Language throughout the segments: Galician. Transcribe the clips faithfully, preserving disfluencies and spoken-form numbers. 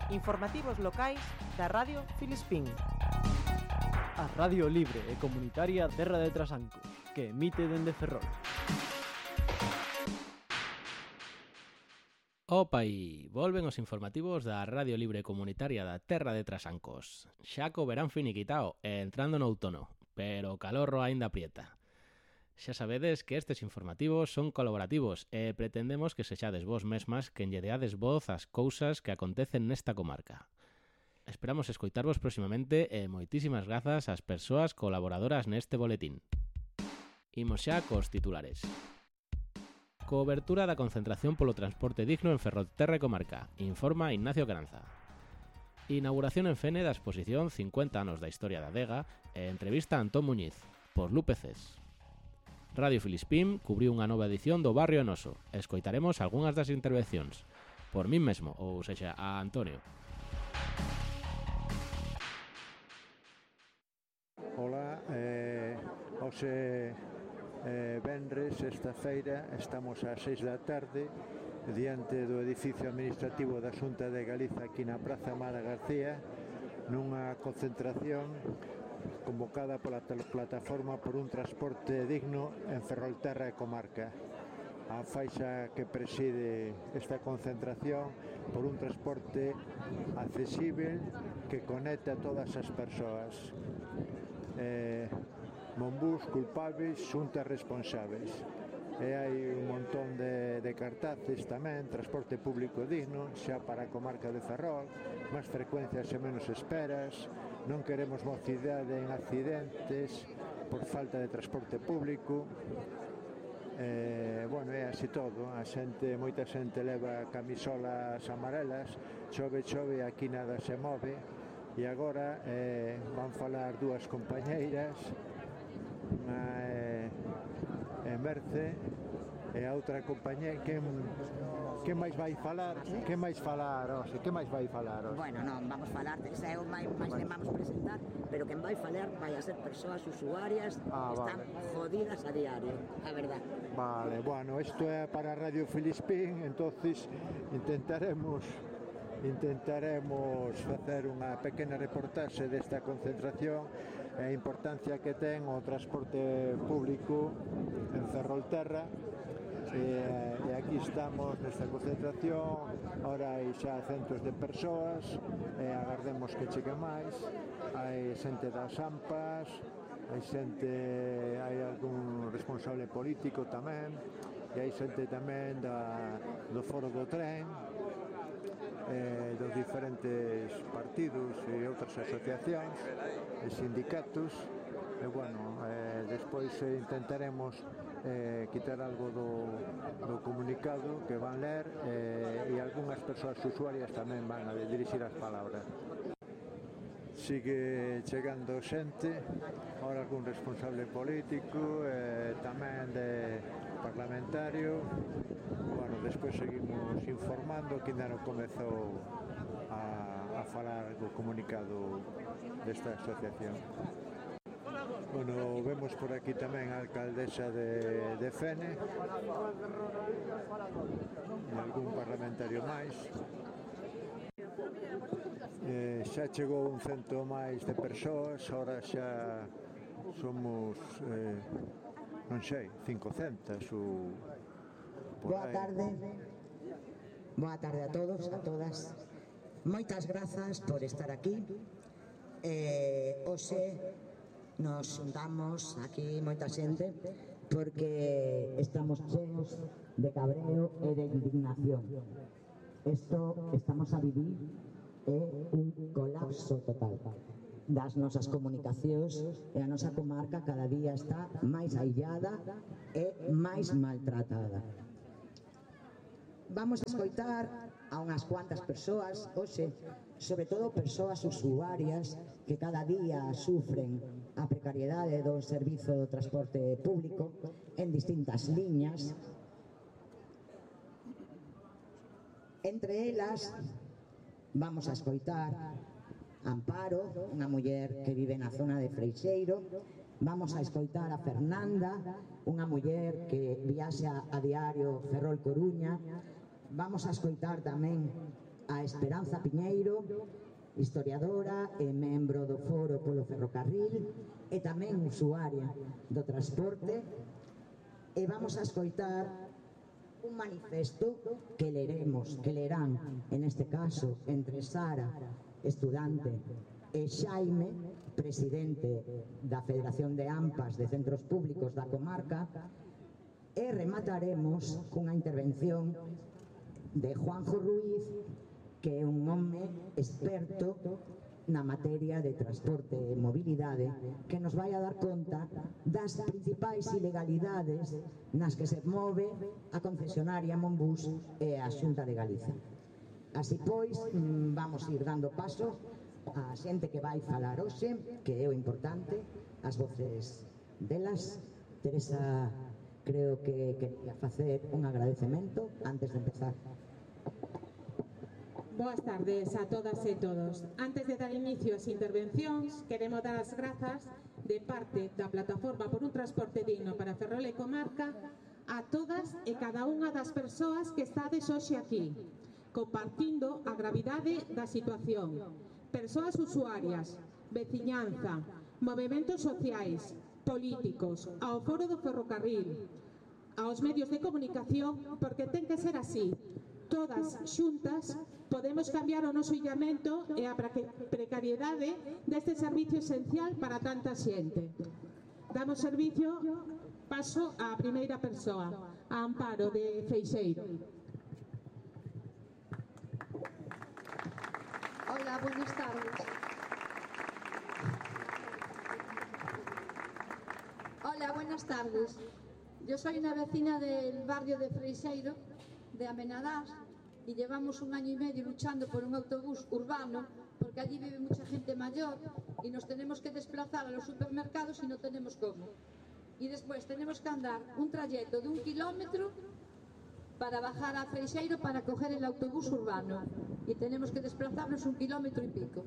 Informativos locais da Radio Filispín. A Radio Libre e Comunitaria Terra de Trasancos, que emite dende Ferrol. Opa, e volven os informativos da Radio Libre Comunitaria da Terra de Trasancos. Xa co verán finiquitao e entrando no outono, pero o calorro aínda aprieta. Xa sabedes que estes informativos son colaborativos e pretendemos que sexades vos mesmas quen lle deades voz ás cousas que acontecen nesta comarca. Esperamos escoitarvos próximamente e moitísimas grazas ás persoas colaboradoras neste boletín. Imos xa cos titulares. Cobertura da concentración polo transporte digno en Ferrolterra e comarca, informa Ignacio Caranza. Inauguración en Fene da exposición cincuenta anos da historia da adega e entrevista a Antón Muñiz, por Lupe Cés. Radio Filispín cubriu unha nova edición do Barrio Noso. Escoitaremos algunhas das intervencións, por min mesmo, ou sexa, a Antonio. Hola, eh, hoxe eh, venres, esta feira, estamos ás seis da tarde diante do edificio administrativo da Xunta de Galiza aquí na Praza Amada García, nunha concentración convocada pola plataforma por un transporte digno en Ferrolterra e comarca. A faixa que preside esta concentración por un transporte accesible que conecta a todas as persoas. Eh, Monbús culpables, xuntas responsables. E hai un montón de, de cartaces tamén, transporte público digno, xa para a comarca de Ferrol, máis frecuencias e menos esperas, non queremos mocidade en accidentes por falta de transporte público. Eh, bueno, é así todo, a xente, moita xente leva camisolas amarelas, chove, chove, aquí nada se move, e agora eh, van falar dúas compañeiras, unha é eh, Merce e a outra compañeira. Quen, quen máis vai falar? Quen máis falar, Ose? Quen máis vai falar, Ose? Bueno, non, vamos falar, xa é o máis, máis que vamos presentar, pero quen vai falar vai a ser persoas usuarias ah, que están vale. jodidas a diario, a verdad. Vale, bueno, isto é para Radio Filispín, entonces intentaremos intentaremos facer unha pequena reportaxe desta concentración e a importancia que ten o transporte público en Ferrolterra. E, e aquí estamos nesta concentración, ora hai xa centos de persoas e agardemos que chegue máis. Hai xente das AMPAs, hai xente, hai algún responsable político tamén, e hai xente tamén da, do foro do tren, eh, dos diferentes partidos e outras asociacións e sindicatos. E bueno, eh, despois eh, intentaremos eh, quitar algo do, do comunicado que van ler eh, e algunhas persoas usuarias tamén van a dirixir as palabras. Sigue chegando xente, ahora algún responsable político, eh, tamén de parlamentario. Bueno, despois seguimos informando que ainda non comezou a, a falar do comunicado desta asociación. Bueno, vemos por aquí tamén a alcaldesa de, de Fene e algún parlamentario máis. Eh, xa chegou un cento máis de persoas, ahora xa somos, eh, non sei, cincocentas ou por Boa tarde. Boa tarde a todos, a todas. Moitas grazas por estar aquí. Eh, hoxe nos juntamos aquí moita xente porque estamos cheos de cabreo e de indignación. Isto estamos a vivir é un colapso total das nosas comunicacións e a nosa comarca cada día está máis aillada e máis maltratada. Vamos a escoitar a unhas cuantas persoas hoxe, sobre todo persoas usuarias que cada día sufren a precariedade do servizo do transporte público en distintas liñas. Entre elas vamos a escoitar Amparo, unha muller que vive na zona de Freixeiro. Vamos a escoitar a Fernanda, unha muller que viaxa a diario Ferrol-Coruña. Vamos a escoitar tamén a Esperanza Piñeiro, historiadora e membro do Foro polo Ferrocarril e tamén usuaria do transporte, e vamos a escoitar un manifesto que leremos, que lerán, en este caso, entre Sara, estudante, e Xaime, presidente da Federación de AMPAs de Centros Públicos da comarca, e remataremos cunha intervención de Juanjo Ruiz, que é un home experto na materia de transporte e mobilidade, que nos vai a dar conta das principais ilegalidades nas que se move a concesionaria Monbus e a Xunta de Galiza. Así pois, vamos ir dando paso a xente que vai falar hoxe, que é o importante, as voces delas. Teresa, creo que quería facer un agradecemento antes de empezar. Boas tardes a todas e todos. Antes de dar inicio ás intervencións, queremos dar as grazas de parte da Plataforma por un Transporte Digno para Ferrol e Comarca a todas e cada unha das persoas que estades hoxe aquí, compartindo a gravidade da situación. Persoas usuarias, veciñanza, movementos sociais, políticos, ao Foro do Ferrocarril, aos medios de comunicación, porque ten que ser así. Todas xuntas podemos cambiar o noso illamento e a precariedade deste servicio esencial para tanta xente. Damos servicio, paso á primeira persoa, a Amparo de Freixeiro. Hola, buenas tardes. Hola, buenas tardes. Yo soy una vecina del barrio de Freixeiro, de Amenadás, y llevamos un año y medio luchando por un autobús urbano, porque allí vive mucha gente mayor y nos tenemos que desplazar a los supermercados y no tenemos cómo. Y después tenemos que andar un trayecto de un kilómetro para bajar a Freixeiro para coger el autobús urbano, y tenemos que desplazarnos un kilómetro y pico.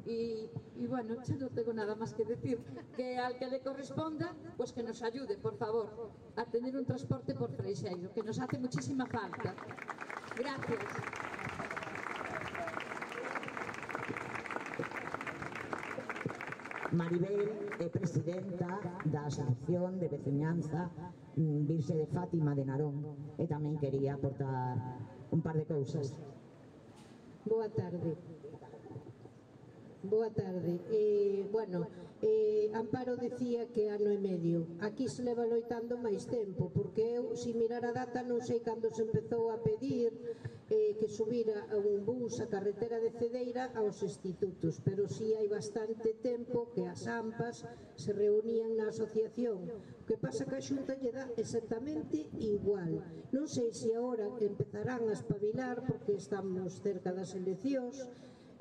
Y, y bueno, yo no tengo nada más que decir, que al que le corresponda, pues que nos ayude, por favor, a tener un transporte por Freixeiro, que nos hace muchísima falta. Gracias. Maribel é presidenta da Asociación de Veciñanza Virxe de Fátima de Narón, e tamén quería aportar un par de cousas. Boa tarde. Boa tarde. Eh, bueno, eh, Amparo decía que ano e medio. Aquí se leva loitando máis tempo, porque eu, se mirar a data, non sei cando se empezou a pedir eh, que subira un bus a carretera de Cedeira aos institutos, pero si hai bastante tempo que as AMPAs se reunían na asociación. O que pasa que a Xunta lle dá exactamente igual. Non sei se agora empezarán a espabilar, porque estamos cerca das eleccións,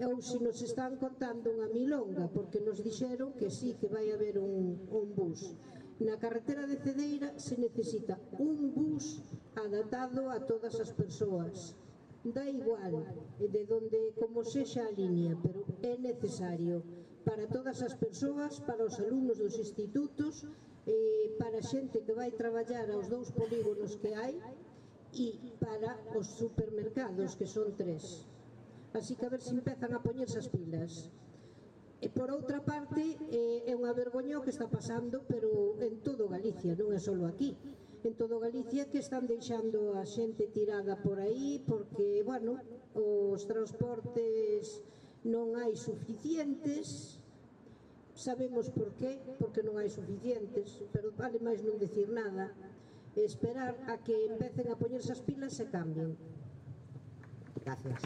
ou se nos están contando unha milonga, porque nos dixeron que sí, que vai haber un, un bus. Na carretera de Cedeira se necesita un bus adaptado a todas as persoas. Da igual de donde, como sexa a línea, pero é necesario para todas as persoas, para os alumnos dos institutos, eh, para a xente que vai traballar aos dous polígonos que hai, e para os supermercados, que son tres. Así que a ver se empezan a poñerse as pilas. E por outra parte, eh, é unha vergoña o que está pasando, pero en todo Galicia, non é só aquí. En todo Galicia, que están deixando a xente tirada por aí, porque, bueno, os transportes non hai suficientes. Sabemos por qué, porque non hai suficientes, pero vale máis non decir nada. Esperar a que empecen a poñerse as pilas e cambien. Gracias.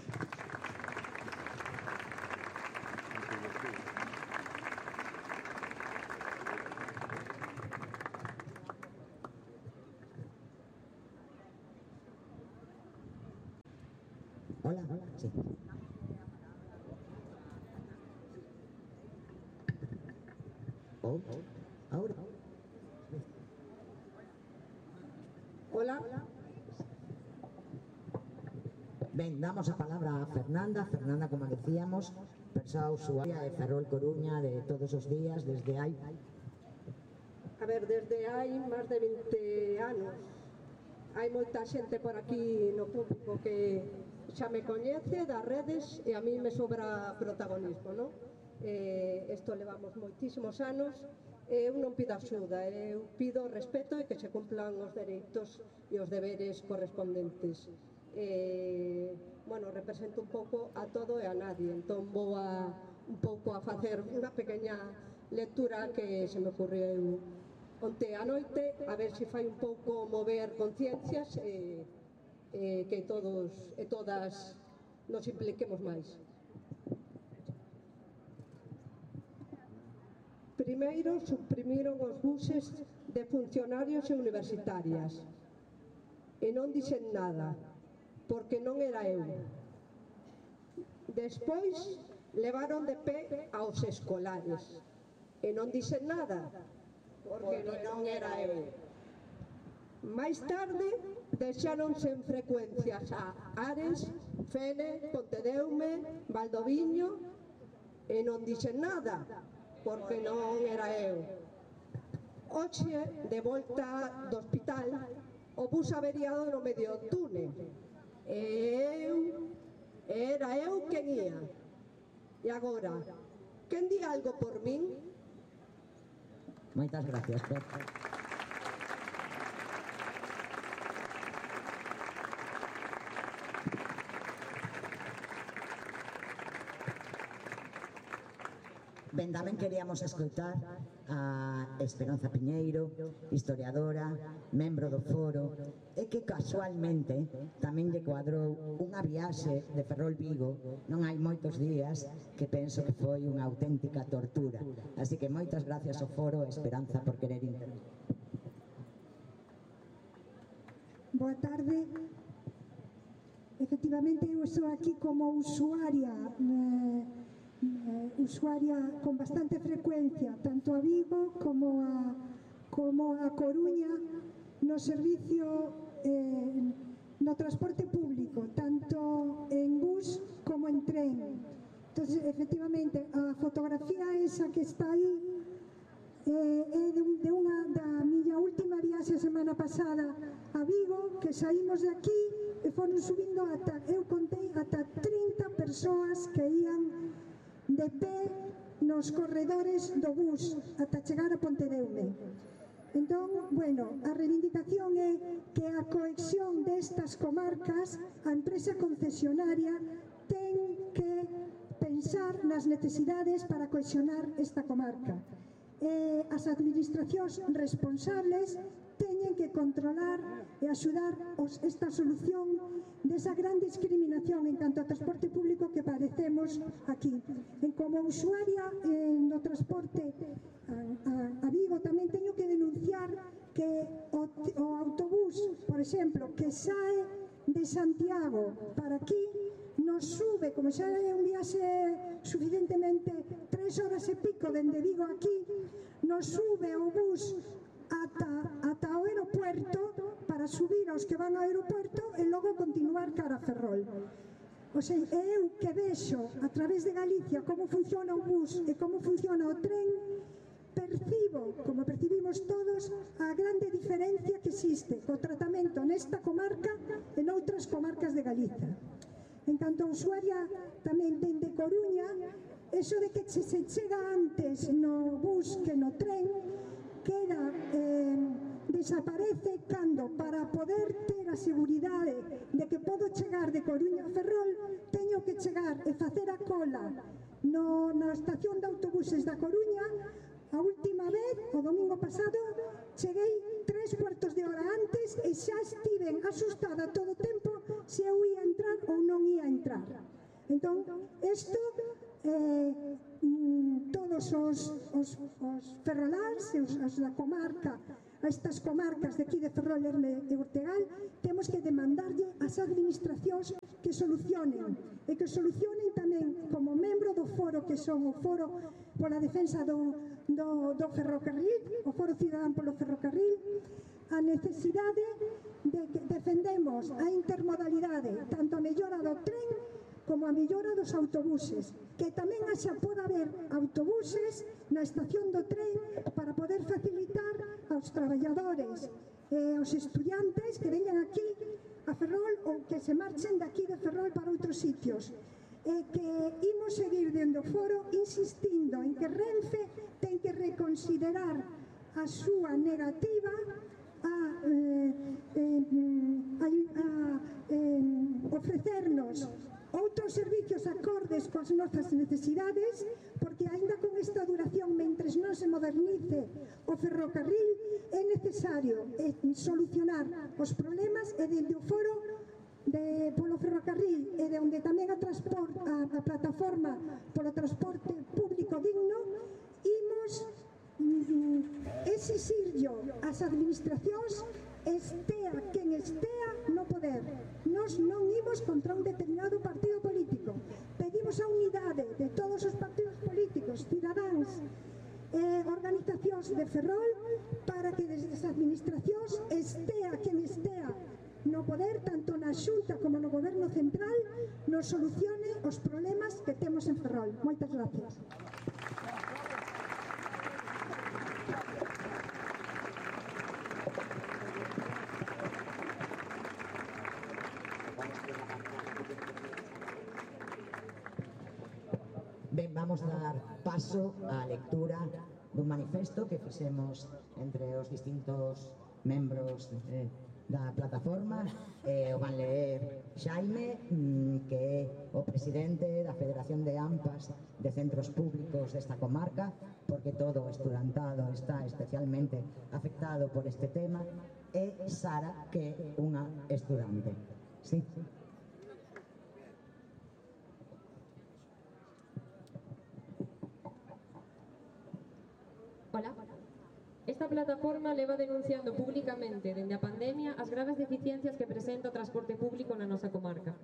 Hola, hola, sí. Oh, ahora. Hola. Ben, damos a palabra a Fernanda. Fernanda, como decíamos, persoa usuaria de Ferrol Coruña de todos os días, desde hai... A ver, desde hai máis de vinte anos. Hai moita xente por aquí no público que xa me coñece das redes e a mí me sobra protagonismo, non? Eh, isto levamos moitísimos anos e eu non pido axuda, eu pido respeto e que se cumplan os dereitos e os deberes correspondentes. Eh, bueno, represento un pouco a todo e a nadie, entón vou a un pouco a facer unha pequeña lectura que se me ocurriu onte a noite, a ver se fai un pouco mover conciencias e, e que todos e todas nos impliquemos máis. Primeiro, suprimiron os buses de funcionarios e universitarias e non dixen nada, porque non era eu. Despois, levaron de pé aos escolares e non dixen nada, porque non era eu. Máis tarde, deixáronse en frecuencias a Ares, Fene, Pontedeume, Valdoviño e non dixen nada, porque non era eu. Hoxe, de volta do hospital, o bus averiado no medio do túnel. E eu, era eu quen ia. E agora, quen di algo por min? Moitas gracias, Pepe. Ben, tamén queríamos escoitar a Esperanza Piñeiro, historiadora, membro do foro, e que casualmente tamén lle cuadrou unha viaxe de Ferrol Vigo non hai moitos días que penso que foi unha auténtica tortura. Así que moitas gracias ao foro e Esperanza por querer intervenir. Boa tarde. Efectivamente, eu estou aquí como usuaria eh, Eh, usuaria con bastante frecuencia tanto a Vigo como a, como a Coruña no servicio eh, no transporte público, tanto en bus como en tren. Entonces, efectivamente, a fotografía esa que está aí eh, é de, un, de unha da miña última viaxe a semana pasada a Vigo, que saímos de aquí e foron subindo ata, eu contei, ata trinta persoas que ían de pé nos corredores do bus ata chegar a Pontedeume. Entón, bueno, a reivindicación é que a cohesión destas comarcas, a empresa concesionaria ten que pensar nas necesidades para cohesionar esta comarca. E as administracións responsables teñen que controlar e axudar os, esta solución desa gran discriminación en canto ao transporte público que padecemos aquí. E como usuaria eh, no transporte a, a, a Vigo tamén teño que denunciar que o, o autobús, por exemplo, que sae de Santiago para aquí, nos sube, como xa é un viaxe suficientemente tres horas e pico dende Vigo aquí, nos sube o bus ata, ata o aeropuerto para subir aos que van ao aeropuerto e logo continuar cara a Ferrol. O sea, eu que vexo a través de Galicia como funciona o bus e como funciona o tren, percibo, como percibimos todos, a grande diferencia que existe co tratamento nesta comarca e noutras comarcas de Galicia. En canto a usuaria tamén dende Coruña, eso de que se chega antes no bus que no tren, queda, eh, desaparece cando para poder ter a seguridade de que podo chegar de Coruña a Ferrol, teño que chegar e facer a cola no, na estación de autobuses da Coruña. A última vez, o domingo pasado, cheguei tres cuartos de hora antes e xa estiven asustada todo o tempo se eu ia entrar ou non ia entrar. Entón, isto, eh, todos os, os, os ferroláns e os, os da comarca, estas comarcas de aquí de Ferrol, Lerme e Ortegal, temos que demandarlle ás administracións que solucionen e que solucionen tamén como membro do foro que son o foro pola defensa do, do, do ferrocarril, o foro cidadán polo ferrocarril, a necesidade de que defendemos a intermodalidade, tanto a mellora do tren como a mellora dos autobuses, que tamén xa poda haber autobuses na estación do tren para poder facilitar aos traballadores e aos estudiantes que veñan aquí a a Ferrol ou que se marchen daqui de Ferrol para outros sitios. E que imos seguir dende o foro insistindo en que Renfe ten que reconsiderar a súa negativa a, eh, eh, a, a eh, ofrecernos outros servicios acordes coas nosas necesidades, porque aínda con esta duración, mentres non se modernice o ferrocarril, é necesario eh, solucionar os problemas e dende o foro de, polo ferrocarril e de onde tamén a, transport, a, a plataforma polo transporte público digno, imos mm, exixirlo ás administracións, estea quen estea no poder. Nos non imos contra un determinado partido político, pedimos a unidade de todos os partidos políticos, cidadáns e organizacións de Ferrol para que desde as administracións estea quen estea no poder, tanto na Xunta como no Goberno Central, nos solucione os problemas que temos en Ferrol. Moitas gracias. Ben, vamos a dar paso á lectura dun manifesto que fixemos entre os distintos membros eh, da plataforma. Eh, o van ler Xaime, mm, que é o presidente da Federación de AMPAs de Centros Públicos desta comarca, porque todo o estudantado está especialmente afectado por este tema, e Sara, que é unha estudante. Sí. Hola. Esta plataforma leva denunciando públicamente dende a pandemia as graves deficiencias que presenta o transporte público na nosa comarca.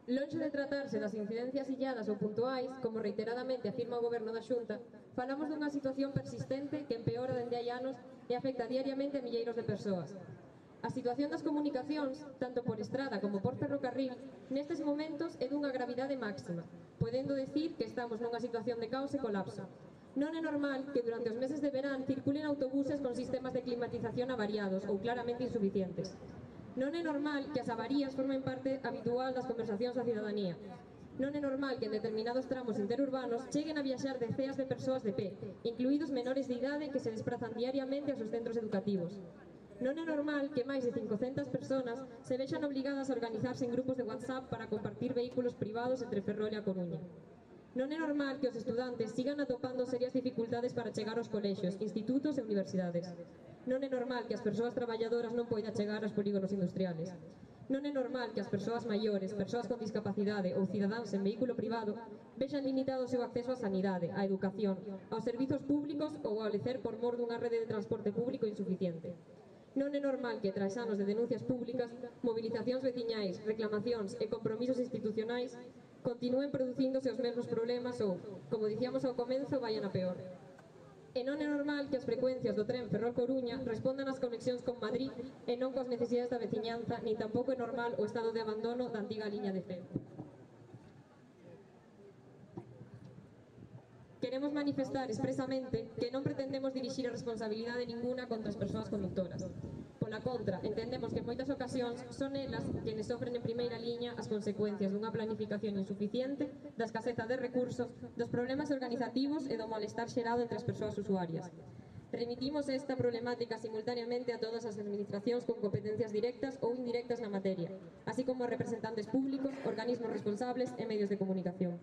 Lonxe de tratarse das incidencias illadas ou puntuais, como reiteradamente afirma o Goberno da Xunta, falamos dunha situación persistente que empeora dende hai anos e afecta diariamente a milleiros de persoas. A situación das comunicacións, tanto por estrada como por ferrocarril, nestes momentos é dunha gravidade máxima, podendo decir que estamos nunha situación de caos e colapso. Non é normal que durante os meses de verán circulen autobuses con sistemas de climatización avariados ou claramente insuficientes. Non é normal que as avarías formen parte habitual das conversacións da cidadanía. Non é normal que en determinados tramos interurbanos cheguen a viaxar deceas de persoas de pé, incluídos menores de idade que se desplazan diariamente aos seus centros educativos. Non é normal que máis de cincocentas persoas se vexan obligadas a organizarse en grupos de WhatsApp para compartir vehículos privados entre Ferrol e a Coruña. Non é normal que os estudantes sigan atopando serias dificultades para chegar aos colexios, institutos e universidades. Non é normal que as persoas traballadoras non poidan chegar aos polígonos industriales. Non é normal que as persoas maiores, persoas con discapacidade ou cidadáns en vehículo privado vexan limitado o seu acceso á sanidade, á educación, aos servizos públicos ou ao lecer por mor dunha rede de transporte público insuficiente. Non é normal que, tras anos de denuncias públicas, movilizacións veciñais, reclamacións e compromisos institucionais, continúen producíndose os mesmos problemas ou, como dicíamos ao comenzo, vayan a peor. E non é normal que as frecuencias do tren Ferrol-Coruña respondan ás conexións con Madrid e non coas necesidades da veciñanza, nin tampouco é normal o estado de abandono da antiga liña de Feo. Queremos manifestar expresamente que non pretendemos dirixir a responsabilidade ninguna contra as persoas conductoras. Pola contra, entendemos que en moitas ocasións son elas quenes sofren en primeira liña as consecuencias dunha planificación insuficiente, da escaseza de recursos, dos problemas organizativos e do malestar xerado entre as persoas usuarias. Remitimos esta problemática simultaneamente a todas as administracións con competencias directas ou indirectas na materia, así como a representantes públicos, organismos responsables e medios de comunicación.